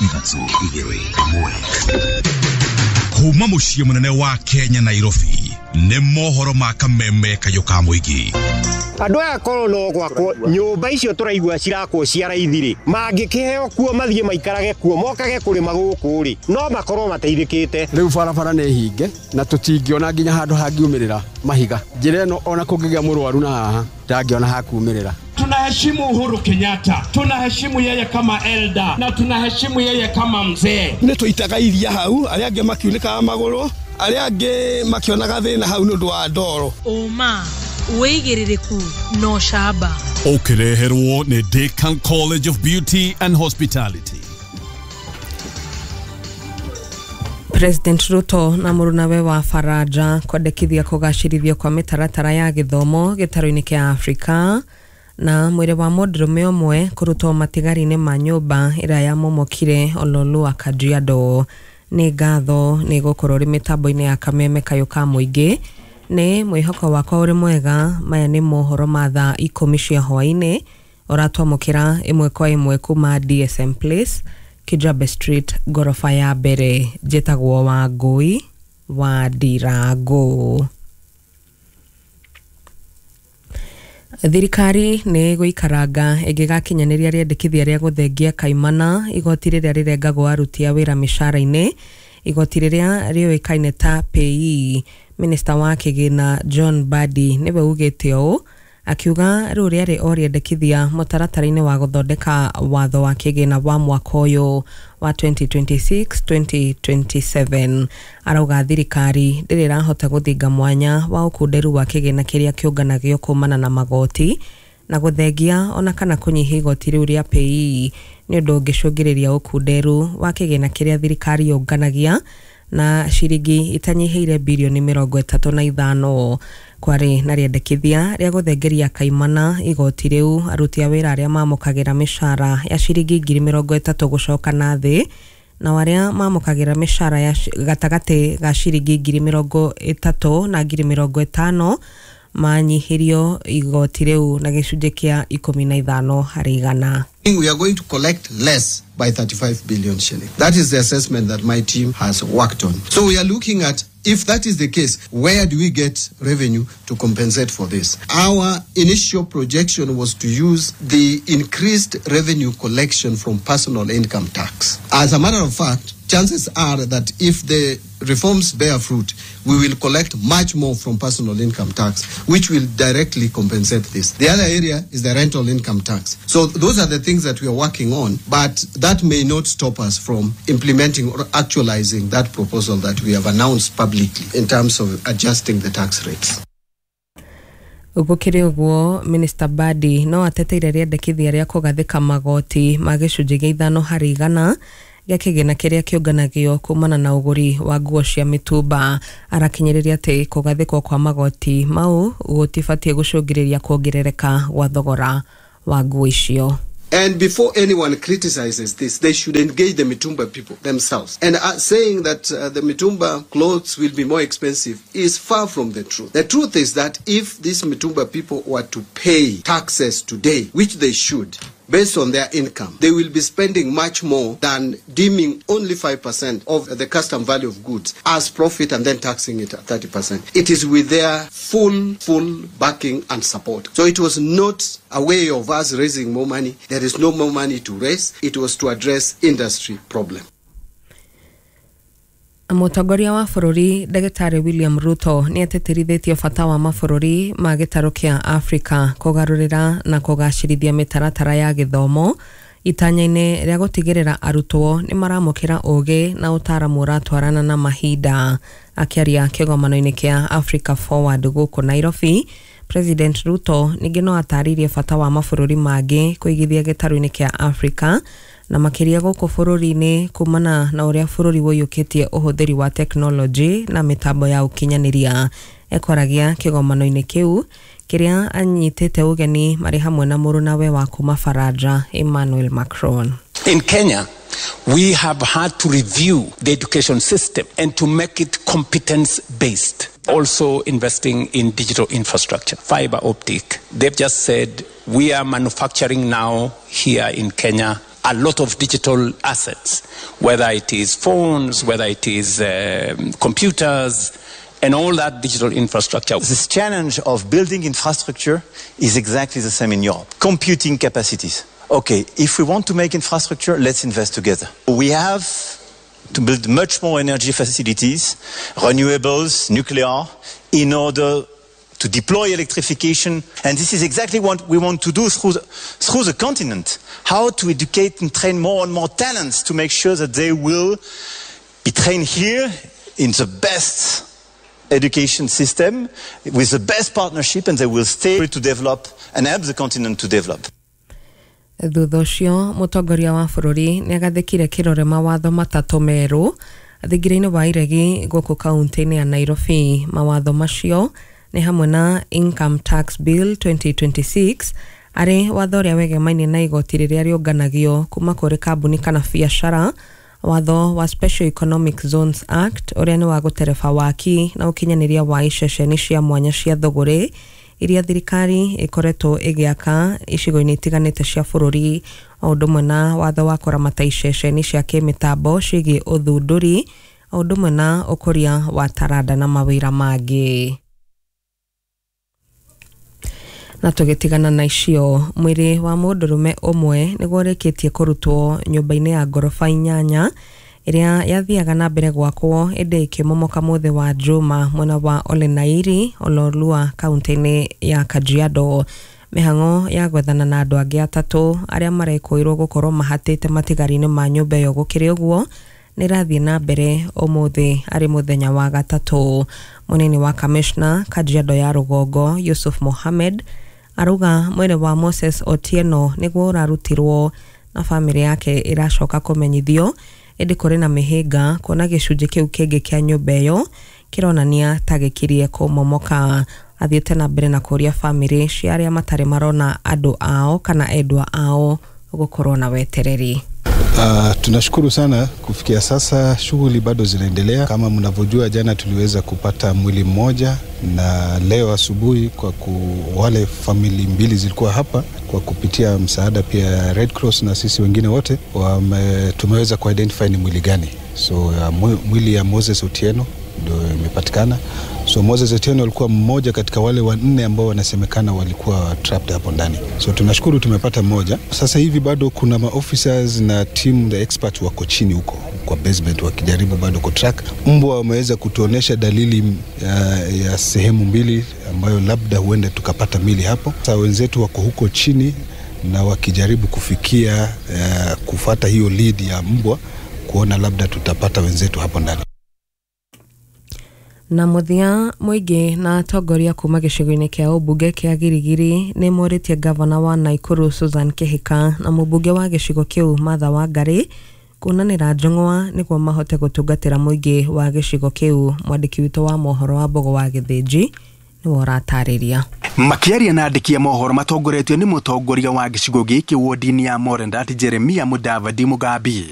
3, 2, 1. Kuma mũciĩ mũnene wa Kenya Nairobi nĩ mohoro ma kameme kayũ ka mũingĩ. Andũ aya korwo no gwakwo nyũmba icio tũraigua cirakwo cia raithi rĩ, mangĩkĩheo kuo mathiĩ maikarage kuo mokage kũrĩma gũkũ rĩ, no makorwo mateithĩkĩte. Rĩu barabara nĩ hinge na tũtingĩona nginya handũ hangiumĩrĩra mahiga. Njĩra ĩno ona kũngĩgĩa mũrwaru na haha ndangĩona hakumĩrĩra. Tunaheshimu Uhuru Kenyatta, tunaheshimu yeye kama elder na tunaheshimu yeye kama mzee. Nĩ tũitaga iria hau, arĩa angĩ makiunĩkaga magũrũ, arĩa angĩ makĩonaga thĩna hau nĩ ũndũ wa ndoro. Ũma, wĩigĩrĩrĩku na ũcamba. Ũkĩreherwo nĩ Decan College of Beauty and Hospitality. President Ruto na mũrunawe wa Faranja kwendekithia kũgacĩrithio kwa mĩtaratara ya gĩthomo gĩtarũ-inĩ kĩa Afrika na mwĩrĩ wa mũndũrũme ũmwe kũrutwo matigari-inĩ ma nyũmba ĩrĩa yamomokire Ololua Kajiado. Nĩ ngatho nĩ gũkorwo ũrĩ mĩtambo-inĩ ya kameme kayũ ka mũingĩ. Nĩ mwĩhoko wakwa ũrĩ mwega. Maya nĩ mohoro ma thaa 10 cia hwaĩ-inĩ ũratwamũkĩra ĩmwe kwa ĩmwe kuma DSM Place, Kijabe Street, ngoroba ya mbere. Njĩtagwo Wangũi wa Ndirango. Thirikari nĩ gũikaranga ĩngĩgakinyanĩria rĩendekithia rĩa gũthengia kaimana igoti rĩrĩa rĩrengagwo aruti a wĩra mĩcara-inĩ, igoti rĩrĩa rĩũĩkaine ta PAYE. Minista wa kĩgĩna John Mbadi nĩwe ugĩte ũũ, akiuga rĩu rĩarĩ o rĩendekithia mũtaratara-inĩ wa gũthondeka watho wa kĩgĩna wa mwaka ũyũ wa 2026-2027. Arauga thirikari ndĩrĩ ĩrahota gũthinga mwanya wa ũkunderu wa kĩgĩna kĩrĩa kĩũnganagio kumana na magoti na gũthengia ona kana kũnyihia igoti rĩu rĩa PAYE nĩ ũndũ ũngĩcũngĩrĩria ũkunderu wa kĩgĩna kĩrĩa thirikari yũnganagia na ciringi itanyihĩire birioni 35. Kwarĩ na rĩendekithia rĩa gũthengeria kaimana igoti rĩu aruti a wĩra arĩa mamũkagĩra mĩcara ya ciringi 30,000 gũcoka na thĩ na arĩa mamũkagĩra mĩcara ya gatagatĩ ga ciringi 30,000 na 50,000 manyihĩrio igoti rĩu na gĩcunjĩ kĩa 15 harĩ igana. We are going to collect less by 35 billion shillings. That is the assessment that my team has worked on. So we are looking at, if that is the case, where do we get revenue to compensate for this? Our initial projection was to use the increased revenue collection from personal income tax. As a matter of fact, chances are that if the reforms bear fruit, we will collect much more from personal income tax, which will directly compensate this. The other area is the rental income tax. So those are the things that we are working on, but that may not stop us from implementing or actualizing that proposal that we have announced publicly in terms of adjusting the tax rates. Gũkĩrĩ ũguo, Minister Mbadi no ateteire rĩendekithia rĩa kũgathĩka magoti ma gĩcunjĩ gĩa 5 harĩ igana gĩa kĩgĩna kĩrĩa kĩũnganagio kumana na ũgũri wa nguo cia mĩtumba. Arakinyĩrĩria atĩ kũgathĩkwo kwa magoti mau gũtibatiĩ gũcũngĩrĩria kuongerereka gwa thogora wa nguo icio. And before anyone criticizes this, they should engage the Mitumba people themselves. And saying that the Mitumba clothes will be more expensive is far from the truth. The truth is that if these Mitumba people were to pay taxes today, which they should, based on their income, they will be spending much more than deeming only 5% of the custom value of goods as profit and then taxing it at 30%. It is with their full backing and support. So it was not a way of us raising more money. There is no more money to raise. It was to address industry problem. Mũtongoria wa bũrũri Ndagĩtarĩ William Ruto nĩ atĩtĩrithĩtie bata wa mabũrũri ma gĩtarũ kĩa Afrika kũgarũrĩra na kũgacĩrithia mĩtaratara ya gĩthomo itanya-inĩ rĩa gũtigĩrĩra arutwo nĩ maramũkĩra ũgĩ na ũtaaramu ũratwarana na mahinda. Akĩaria kĩgomano-inĩ kĩa Africa Forward gũkũ Nairobi, President Ruto ningĩ no atarĩirie bata wa mabũrũri mangĩ kũigithia gĩtarũ-inĩ kĩa Afrika na makĩria gũkũ bũrũri-inĩ kumana na ũrĩa bũrũri ũiyũkĩtie ũhũthĩri wa tekinoronjĩ na mĩtambo ya ũkinyanĩria. Ekwaragia kĩgomano-inĩ kĩu kĩrĩa anyitĩte ũgeni marĩ hamwe na mũrũnawe wa kuma Faranja Emmanuel Macron. In Kenya, we have had to review the education system and to make it competence-based. Also investing in digital infrastructure, fiber optic. They've just said we are manufacturing now here in Kenya A lot of digital assets, whether it is phones, whether it is computers, and all that digital infrastructure. This challenge of building infrastructure is exactly the same in Europe. Computing capacities. Okay, if we want to make infrastructure, let's invest together. We have to build much more energy facilities, renewables, nuclear, in order to deploy electrification. And this is exactly what we want to do through the continent. How to educate and train more and more talents to make sure that they will be trained here in the best education system with the best partnership, and they will stay to develop and help the continent to develop. Thutha ũcio mũtongoria wa bũrũri nĩ agathĩkire kĩrore mawatho matatũ merũ thingira-inĩ wa iregi gũkũ kaunti-inĩ ya Nairobi. Mawatho macio nĩ hamwe na Income Tax Bill 2026 arĩ watho ũrĩa wegemainie na igoti rĩrĩa rĩũnganagio kuma kũrĩ kambuni kana biacara, watho wa Special Economic Zones Act ũrĩa nĩ wa gũtereba waki na ũkinyanĩria wa iceceni cia mwanya cia thũgũrĩ iria thirikari ĩkoretwo ĩgĩaka icigo-inĩ itiganĩte cia bũrũri, o ũndũ ũmwe na watho wa kũramata iceceni cia kĩmĩtambo ciĩgiĩ ũthundũri, o ũndũ ũmwe na ũkũria wa taranda na mawĩra mangĩ. Na tũgĩtigana na icio, mwĩrĩ wa mũndũrũme ũmwe nĩguo ũrĩkĩtie kũrutwo nyũmba-inĩ ya ngoroba 8 ĩrĩa yathiaga na mbere gwakwo ĩndĩ ĩkĩmomoka mũthĩ wa Juma mwena wa Olenairi Ololua kaunti-inĩ ya Kajiado. Mĩhang'o ya gwethana na andũ angĩ atatũ arĩa marekũĩrwo gũkorwo mahatĩte matigari-inĩ ma nyũmba ĩyo gũkĩrĩ ũguo nĩ ĩrathiĩ na mbere ũmũthĩ arĩ mũthenya wa gatatũ. Mũnini wa kamishna Kajiado ya rũgongo Yusuf Mohamed arauga mwĩrĩ wa Moses Otieno nĩguo ũrarutirwo na bamĩrĩ yake ĩracoka kũmenyithio, ĩndĩ kũrĩ na mĩhĩnga kuona gĩcunjĩ kĩu kĩngĩ kĩa nyũmba ĩyo kĩronania ta gĩkirie kũmomoka. Athiĩte na mbere na kũria bamĩrĩ cia arĩa matarĩ marona andũ ao kana endwa ao gũkorwo na wetereri. Tunashukuru sana kufikia sasa shughuli bado zinaendelea. Kama mnavyojua, jana tuliweza kupata mwili mmoja na leo asubuhi kwa wale famili mbili zilikuwa hapa kwa kupitia msaada pia Red Cross na sisi wengine wote tumeweza kuidentify ni mwili gani. So mwili ya Moses Otieno ndio imepatikana. So Moses Otieno alikuwa mmoja katika wale wanne ambao wanasemekana walikuwa trapped hapo ndani. So tunashukuru tumepata mmoja. Sasa hivi bado kuna maofficers na team the experts wako chini huko kwa basement wakijaribu bado kutrack. Mbwa wameweza kutuonesha dalili ya sehemu mbili ambayo labda huenda tukapata mili hapo. Sasa wenzetu wako huko chini na wakijaribu kufikia kufata hiyo lead ya mbwa kuona labda tutapata wenzetu hapo ndani. Na mũthia mũingĩ na atongoria kuma gĩcigo-inĩ kĩa ũmbunge kĩa Girigiri nĩ morĩtie gavana wa Nakuru Susan Kihika na mũmbunge wa gĩcigo kĩu Martha Wangari kuonanĩra njũng'wa nĩguo mahote gũtungatĩra mũingĩ wa gĩcigo kĩu. Mwandĩki witũ wa mohoro wa Mbogo wa Gĩthĩnji nĩwe ũratarĩria. Makiaria na andĩki a mohoro matongoretio nĩ mũtongoria wa gĩcigo gĩkĩ wodi-inĩ ya Morendat Jeremia Mudavadi Mugambi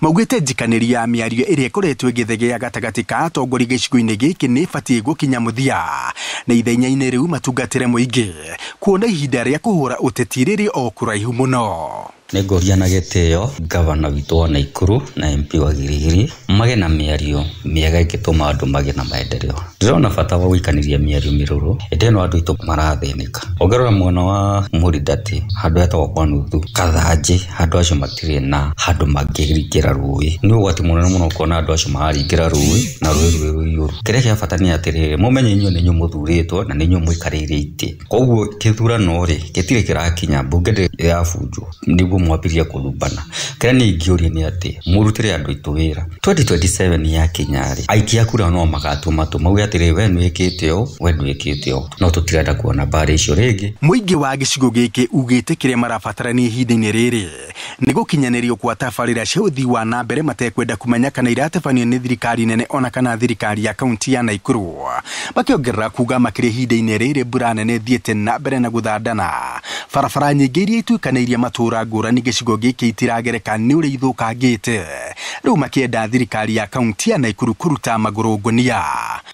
maugĩte njikanĩri ya mĩario ĩrĩa ĩkoretwo ĩgĩthegea gatagatĩ ka atongoria gĩcigo-inĩ gĩkĩ nĩ ĩbatiĩ gũkinya mũthia na ithenya-inĩ rĩu matungatĩre mũingĩ kuona ihinda rĩa kũhũra ũteti rĩrĩ o kũraihu mũno. Nĩ ngũria na gĩtĩo gavana witũ wa Nakuru na MP wa Girigiri mage na mĩario mĩega ĩngĩtũma andũ magĩe na maendeleo. Ndĩrona bata wa gũikanĩria mĩario mĩrũrũ ĩndĩ ĩno andũ aitũ marathĩnĩka. Ũngĩrora mwena wa Mũrindati handũ hetagwo kwa nuthu Kathanjĩ, handũ acio matirĩ na handũ mangĩringĩra rũĩ. Nĩ ũgwati mũnene mũno kuona andũ acio mararingĩra rũĩ na rũĩ rwĩ rũiyũru. Kĩrĩa kĩa bata nĩ atĩrĩrĩ, mũmenye inyuĩ nĩ inyuĩ mũthurĩtwo na nĩ inyuĩ mũikarĩire itĩ. Koguo kĩthurano rĩ gĩtirĩ kĩrakinya, mbunge ndĩrĩ yabunjwo nĩguo mwambirie kũrumbana. Kĩrĩa niĩ ingĩũria nĩ atĩ mũrutĩre andũ aitũ wĩra. 2027 yakinya rĩ, aikia kura no magatua matũ mauge atĩrĩ, we nĩwĩkĩte ũũ, we ndwĩkĩte ũũ, no tũtirenda kuona mbara icio rĩngĩ. Mũingĩ wa gĩcigo gĩkĩ ugĩte kĩrĩa marabatarania ihinda-inĩ rĩrĩ nĩ gũkinyanĩrio kwa tabarĩra cia ũthii wa na mbere matekwenda kũmenya kana iratabanio nĩ thirikari nene ona kana thirikari ya kaunti ya Nakuru. Makĩongerera kuga makĩria ihinda-inĩ rĩrĩ mbura nene ĩthiĩte na mbere na gũthandana, barabara nyingĩ iria ituĩkanĩirie matũũra ngũrani gĩcigo gĩkĩ itiragereka nĩ ũrĩa ithũkangĩte. Rĩu makĩenda thirikari ya kaunti ya Nakuru kũruta magũrũ ngũnia.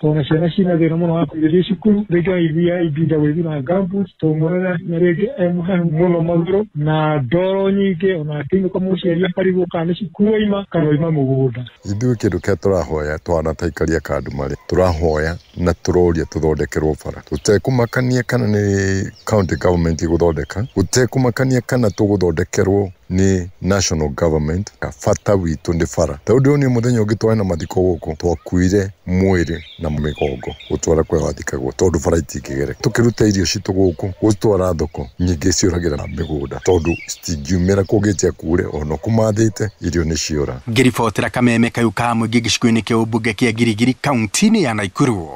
Tondũ ciana ciĩna thĩna mũno wa kũingĩrio cukuru, rĩngĩ aithia ibinda gwĩthiĩ na gumboots, tondũ mwana na rĩngĩ e mũhehu mũno magũrũ na ndoro nyingĩ, ona akĩinũka mũciari akarigwo kana nĩ cukuru aima kana oima mũgũnda. Ithuĩ kĩndũ kĩrĩa tũrahoya twana ta aikari a Kandũmarĩ, tũrahoya na tũroria tũthondekerwo bara, tũtekũmakania kana nĩ county government ĩgũthondeka, gũtekũmakania kana tũgũthondekerwo nĩ national government. Bata witũ nĩ bara. Tondũ ũyũ nĩ mũthenya ũngĩ twarĩ na mathiko gũkũ, twakuire mwĩrĩ na mĩgongo gũtwara kũrĩa wathikagwo tondũ bara itingĩgereka. Tũkĩruta irio citũ gũkũ gũcitwara thoko, nyingĩ ciũragĩra mĩgũnda tondũ citingiumĩra kũngĩtia kure, ona kũmathĩte irio nĩ ciora. Ngĩribotera kameme kayũ ka mũingĩ gĩcigo-inĩ kĩa ũmbunge kĩa Girigiri kaunti-inĩ ya Naikuru,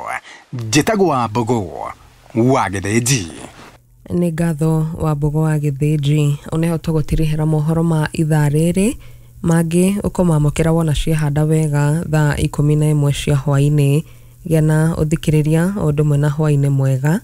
njĩtagwo Wambũgũ wa Gĩthĩnji. Nĩ ngatho Wambũgũ wa Gĩthĩnji. Oneho tũgũtirihĩra mohoro ma ithaa rĩrĩ, mangĩ ũkũmamũkĩra wona ciehanda wega thaa 11 cia hwaĩ-inĩ. Gĩa na ũthikĩrĩria o ũndũ ũmwe na hwaĩ-inĩ mwega.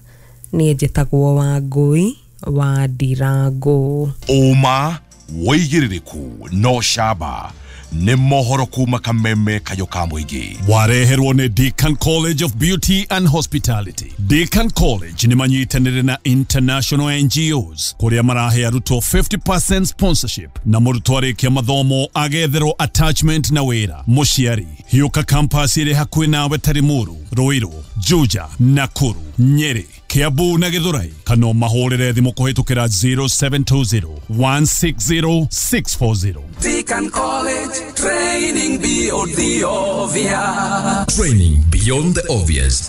Niĩ njĩtagwo Wangũi wa Ndirangũ. Ũma wĩigĩrĩrĩku no camba nĩ mohoro kuma kameme kayũ ka mũingĩ. Wareherwo nĩ Deakin College of Beauty and Hospitality. Deakin College nĩ manyitanĩire na international NGOs kũrĩa marahe arutwo 50% sponsorship na mũrutwo arĩkia mathomo agetherwo attachment na wĩra. Mũciari hiũka campus ĩrĩ hakuhĩ nawe ta Limuru, Ruiru, Juja, Nakuru, Nyeri, Kiambu na Githurai, kana mahũrĩre thimũ kũhĩtũkĩra 0720 160 640. Deakin College, training beyond the obvious. Training beyond the obvious.